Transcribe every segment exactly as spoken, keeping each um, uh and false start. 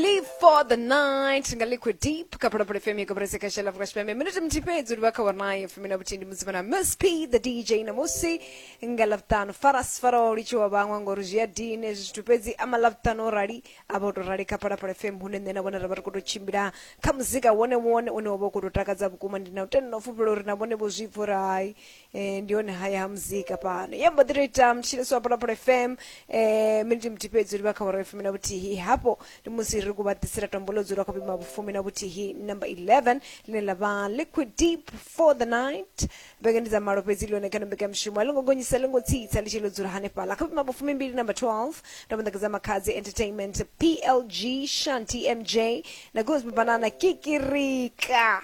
Live for the night nga Liquid Deep kha Phalaphala F M ya koporasi ya Khasha ḽa Afrika Tshipembe. Minete muthihi fhedzi uri vha kha awara ya fumi na vhuthihi ndi musi vha na Miss P the D J na musi nga Ḽavhuṱanu. Faras faraho litshiwa vhaṅwe ngori zwi a dina hezwi zwithu, fhedzi ama Ḽavhuṱanu o rali a vha o tou rali kha Phalaphala F M, hune nṋe na vhone ra vha ri khou tou tshimbila kha muzika wone wone une wa vha u khou tou takadza vhukuma. Ndi na u tenda na u fulufhela uri na vhone vho zwi pfa uri hai, eh, ndi hone haya ha muzika fhano. Ya mbo ḓi tou ita mutshilisi wa Phalaphala F M, eh, minete muthihi fhedzi uri vha kha awara ya fumi na vhuthihi. Hafho ndi musi ri khou vha ḓisela tombo ḽo dzula kha vhuimo ha vhufumi na vhuthihi number eleven ḽine ḽa vha Liquid Deep for the night. Vhege ndi dza malo fhedzi ḽone kha mbekanyamushumo a ḽo ngo gonyisa ḽo ngo tsitsa ḽi tshi ḽo dzula hanefhaḽa kha vhuimo ha vhufumimbili number twelve. Ndo vha ṋekedza Makhadzi Entertainment, P L G, Shanti M J na Gospel Banana Kikirika.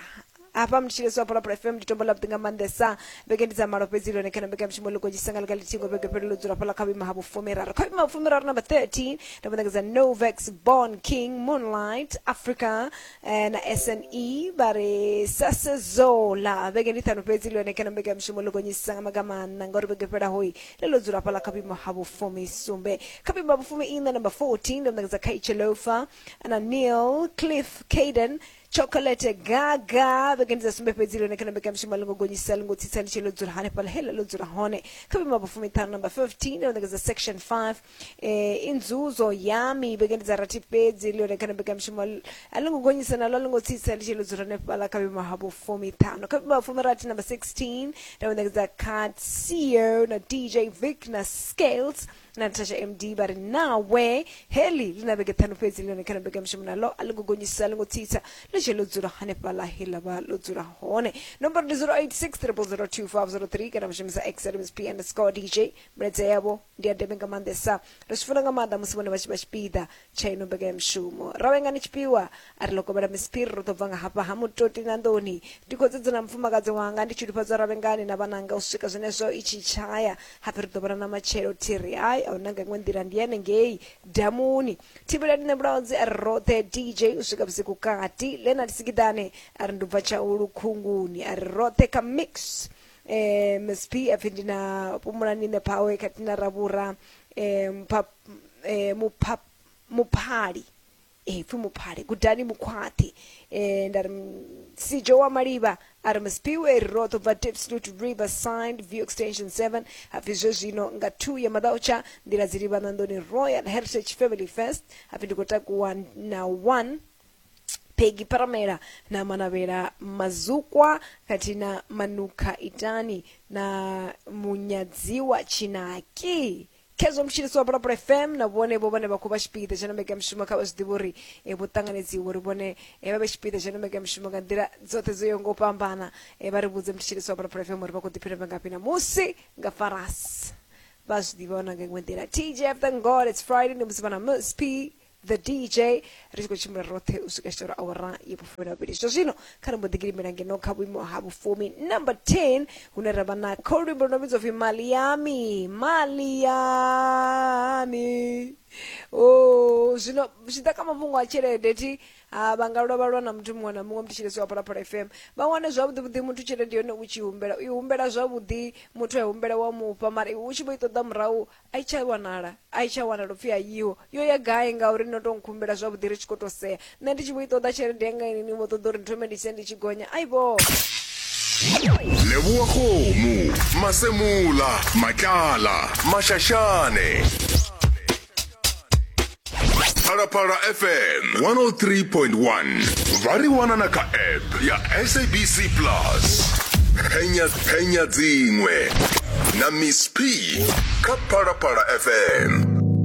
Hafha mutshilisi wa Phalaphala F M ndi tombo ḽa vhuḓi nga maanḓesa. Vhege ndi dza malo fhedzi ḽone kha mbekanyamushumo ḽo gonyisa nga ḽiga ḽithihi vhege fhelo ḽo dzula fhaḽa kha vhuimo ha vhufumiraru. Kha vhuimo ha vhufumiraru number thirteen ndo vha ṋekedza Novex, Born King, Moonlight Africa eh, na S N E vha ri Sasezola. Vhege ndi ṱhanu fhedzi ḽone kha mbekanyamushumo ḽo gonyisa nga maga maṋa ngauri vhege fhelaho ḽo ḽo dzula fhaḽa kha vhuimo ha vhufumisumbe. Kha vhuimo ha vhufumi iṋa number fourteen ndo ṋekedza Kaichelofa na Neil, Cliff, Caden, Chocolate Gaga. Vhege ndi dza sumbe fhedzi ḽone kha mbekanyamushumo ḽo ngo gonyisa ḽi ngo tsitsa ḽi tshi ḽo dzula hanefhaḽa he ḽa ḽo dzula hone. Kha vhuimo ha vhufumiṱhanu number fifteen ndo ṋekedza section five eh, Inzuzo Yami. Vhege ndi dza rathi fhedzi ḽone kha mbekanyamushumo a ḽi ngo gonyisa naḽo ḽi ngo tsitsa ḽi tshi ḽo dzula hanefhaḽa kha vhuimo ha vhufumiṱhanu. Kha vhuimo ha vhufumirathi number sixteen ndo ṋekedza Katsio na D J Vic na Scales na Natasha M D vha ri nawe. Heli ḽi na vhege ṱhanu fhedzi ḽone kha mbekanyamushumo naḽo a ḽi ngo gonyisa ḽi ngo tsitsa ḽi tshi ḽo dzula hanefhaḽa he ḽa vha ḽo dzula hone. Nomboro ndi zero eight six triple zero two five zero three kana vha shumisa X M S P underscore D J. Milaedza yavho ndi ya ndeme nga maanḓesa, ri zwi funa nga maanḓa musi vhone vha tshi vha tshipiḓa tsha ino mbekanyamushumo. Ra vhengani tshifhiwa a ri ḽo kovhela Miss P, ro ḓo bva nga hafha ha Mutoti na Nḓoni. Ndi khou dzedza na mufumakadzi wanga ndi tshilufhadza Ravhengani na vhananga u swika zwenezwo i tshi tshaya. Hapfi ri ḓo vhona na matshelo thiri hai a huna nga iṅwe nḓila ndi hanengei damuni. Thivhelani nṋe Mulaudzi a ri roṱhe D J u swika vhusiku kati. Leonard Sikiḓane a ri ndi bva Tshaulu Khunguni a ri roṱhe kha mix. Eh, Miss P a pfi ndi na Pumulani nṋe Phawe khathihi na Ravhura eh, mupha, eh, mupha, Muphali eh, pfi Muphali Gudani Mukhwathi. Eh, nda ri Sijo wa Malivha a ri Miss P we ri roṱhe bva Diepsloot Riverside View Extension seven. Hapfi zwe zwino nga two ya maḓautsha nḓila dzi livha Nandoni Royal Heritage Family Fest. Hapfi ndi khou takuwa na one Peggy Paramela na Manavhela Mazukwa khathihi na Manukha Itani na Munyadziwa Tshinaki. Khezwo mutshilisi wa Phalaphala F M na vhone vho vhane vha khou vha tshipiḓa tsha mbekanyamushumo kha vha zwi ḓivhe uri vho ṱanganedziwa uri vhone vha vhe tshipiḓa tsha mbekanyamushumo nga nḓila dzoṱhe dzo yaho nga u fhambana. Vha ri vhudze mutshilisi wa Phalaphala F M uri vha khou ḓiphina vhangafhi na musi nga farasi vha zwi ḓivha na nga iṅwe nḓila. T J F, thank God it's Friday. Ndi musi vha na Miss P the D J ri tshi khou tshimbila roṱhe u swika tshitoro awara ya vhufumi na vhuvhili. Zwa zwino kha ri mbo ḓi gidimela ngeno kha vhuimo ha vhufumi number ten hune ra vha na kho luimbo lu no vhidzwa upfi Mali Yami. Mali Yami. Oh, zwino zwi ḓa kha mafhungo a tshelede thi ha vha nga lwa vha lwa na muthu muṅwe na muṅwe mutshilisi wa Phalaphala F M. Vha wane zwavhuḓi vhuḓi muthu tshelede yone u tshi humbela u i humbela zwavhuḓi muthu a humbela wa mufha, mara iwe u tshi vho i ṱoḓa murahu a i tsha wanala, a i tsha wanala upfi a yiho yo ya gai ngauri no to nkhumbela zwavhuḓi ri tshi khou tou sea. Nṋe ndi tshi vho i ṱoḓa tshelede yanga ini ni vho ṱoḓa uri ndi thome ndi tshise ndi tshi gonya aibo. Leboa Kgomo, Masemola, Matlala, Mashashane. Phalaphala F M one oh three point one. Vha ri wana na kha app ya S A B C Plus. Penya penya dziṅwe na Miss P kha Phalaphala F M.